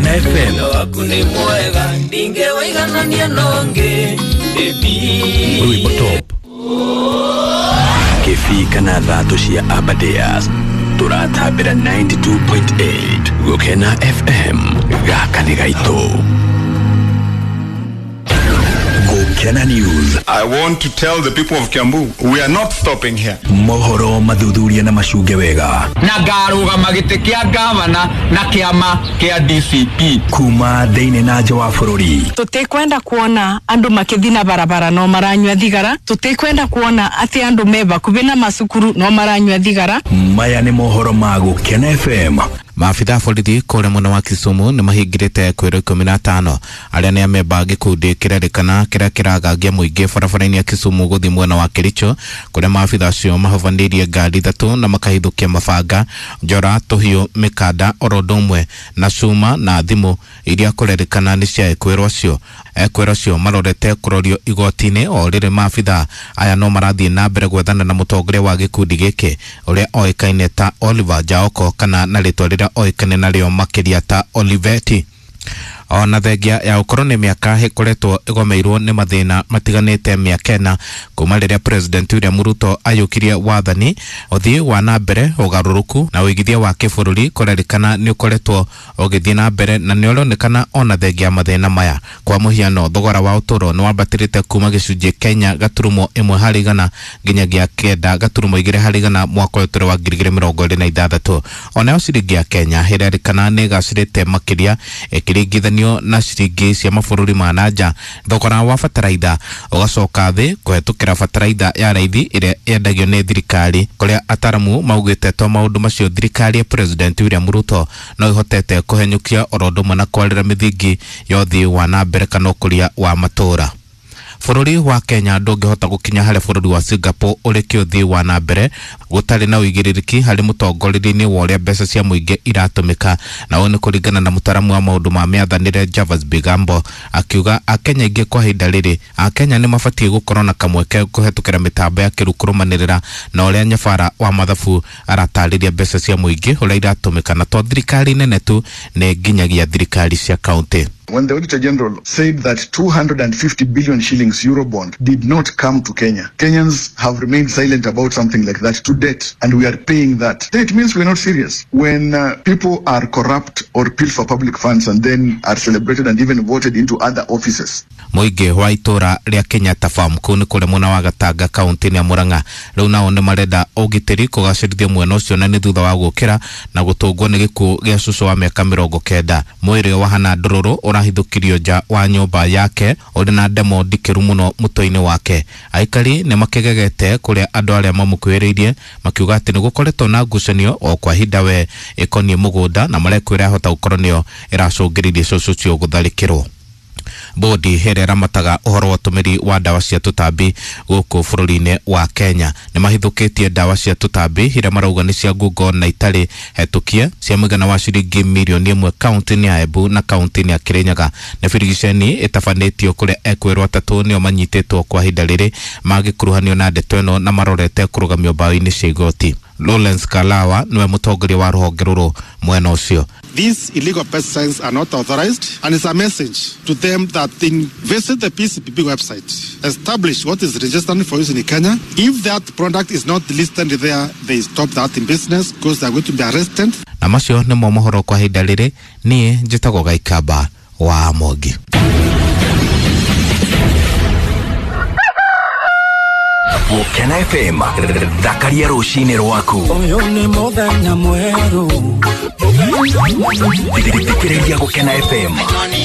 Gũkena FM waku nĩ mwega ndingĩwĩiganania nongi rwĩmbo top Kĩbii kana thatũ cia Aberdares tũratambĩra 92.8 Gũkena FM gaka nĩ gaitũ. Gũkena News. I want to tell the people of Kiambu, we are not stopping here. Mohoro mathuthuria na macunge wega na ngarũgama gĩtĩ kĩa gavana na kĩama kĩa DCP kuma thĩinĩ na nja wa bũrũri. Tutikwenda kuona andu makithi na barabara no maranyua thigara, tutikwenda kuona ati andu me bakubi na macukuru no maranyua thigara. Maya nĩ mohoro ma Gũkena FM. Maabitha a borithi kũrĩa mwena wa Kisumu nĩ mahingĩrĩte kwĩrwo 15 arĩa nĩ amemba gĩkundi kĩrerĩkana kĩrĩa kĩragangia mũingĩ barabara-inĩ ya Kisumu gũthiĩ mwena wa Kericho, kũrĩa maabitha acio mahobanĩirie ngari ithatũ na makahithũkia mabanga, njora, tũhiũ, mĩkanda oro ũndũ ũmwe na cuma na thimũ iria kũrerĩkana nĩ cia ekwĩrwo acio. Ekwĩrwo acio marorete kũrorio igoti-inĩ o rĩrĩ maabitha aya no marathiĩ na mbere gwethana na mũtongoria wa gĩkundi gĩkĩ ũrĩa oĩkaine ta Oliver Jaoko kana na rĩtwa rĩrĩa oĩkaine narĩo makĩria ta Oliveti. Ona thengia ya gũkorwo nĩ mĩaka ĩkoretwo ĩgomeirwo nĩ mathĩna matiganĩte mĩaka ĩna kuma rĩrĩa President William Ruto ayũkirie wathani, ũthii wa na mbere, ũgarũrũku na ũigithia wa kĩbũrũri kũrerĩkana nĩ ũkoretwo ũgĩthiĩ na mbere na nĩ ũronekana ona thengia ya mathĩna maya. Kwa mũhiano, thogora wa ũtũũro nĩ wambatĩrĩte kuma gĩcunjĩ kenya gaturumo ĩmwe harĩ igana nginyagia 9.2 harĩ igana mwaka ũyũ tũrĩ wa 2026. Onayo ciringi ya Kenya ĩrerĩkana nĩ ĩgacĩrĩte makĩria ĩkĩringithanio na ciringi cia mabũrũri ma nanja. Thogora wa bataraitha ũgacoka thĩ kũhetũkĩra bataraitha ya raithi ĩrĩa yendagio nĩ thirikari, kũrĩa ataramu maugĩte to maũndũ macio thirikari ya President William Ruto no ĩhotete kũhenyũkia oro ũndũ ũmwe na kwarĩra mĩthingi ya ũthii wa na mbere kana ũkũria wa matũũra. Bũrũri wa Kenya ndũngĩhota gũkinya harĩ bũrũri wa Singapore ũrĩ kĩũthii wa na mbere gũtarĩ na ũigĩrĩrĩki harĩ mũtongoria-inĩ wa ũrĩa mbeca cia mũingĩ iratũmĩka, na ũũ nĩ kũringana na mũtaaramu wa maũndũ ma mĩathanĩre Javas Bigambo akiuga Akenya aingĩ kwa ihinda rĩrĩ Akenya nĩ mabatiĩ gũkorwo na kamweke kũhetũkĩra mĩtambo ya kĩrĩu kũrũmanĩrĩra na ũrĩa nyabara wa mathabu aratarĩria mbeca cia mũingĩ ũrĩa iratũmĩka, na to thirikari nene tu, nĩ nginyagia thirikari cia kaunti. When the Auditor General said that 250 billion shillings Eurobond did not come to Kenya, Kenyans have remained silent about something like that to date, and we are paying that. Then it means we're not serious. When people are corrupt or pilfer public funds and then are celebrated and even voted into other offices. Mũingĩ wa itũũra rĩa Kenyatta Farm kũu nĩ kũrĩa mwena wa Gatanga kaunti-inĩ ya Murang'a rĩu nao nĩ marenda ũgitĩri kũgacĩrithia mwena ũcio, na nĩ thutha wa gũkĩra na gũtũngwo nĩ gĩkuũ gĩa cũcũ wa mĩaka 90. Mwĩrĩ wa Hana Ndũrũrũ ũrahithũkirio nja wa nyũmba yake ũrĩ na ndemo ndikĩru mũno mũtwe-inĩ wake. Aikari nĩ makĩgegete kũrĩa andũ arĩa mamũkuhĩrĩirie makiuga atĩ nĩ gũkoretwo na ngucanio o kwa ihinda we ĩkoniĩ mũgũnda, na marekwĩra yahota gũkorwo nĩyo ĩracũngĩrĩirie cũcũ ũcio gũtharĩkĩrwo. Bodi ĩrĩa ĩramataga ũhoro wa ũtũmĩri wa ndawa cia tũtambi gũkũ bũrũri-inĩ wa Kenya nĩ mahithũkĩtie ndawa cia tũtambi iria marauga nĩ cia ngungo na itarĩ hetũkie cia mũigana wa ciringi mirioni 1 kaunti-inĩ ya Embu na kaunti-inĩ ya Kirinyaga. Nĩ birigiceni ĩtabanĩtio kũrĩa ekwĩrwo atatũ nĩo manyitĩtwo kwa ihinda rĩrĩ magĩkuruhanio na ndeto ĩno na marorete kũrũgamio mbaũ-inĩ cia igoti. Lawrence Kalawa niwe mũtongoria wa rũhonge rũrũ mwena ũcio. These illegal pesticides are not authorized, and it's a message to them that they visit the PCPB website, establish what is registered for use in Kenya. If that product is not listed there, they stop that in business because they are going to be arrested. Na macio nĩmo mohoro kwa ihinda rĩrĩ. Niĩ njĩtagwo Gaikamba wa Mwangi. Gũkena FM, thakaria rũcinĩ rwaku. Ũyũ nĩ mũthenya mwerũ. Thikĩrĩria Gũkena FM.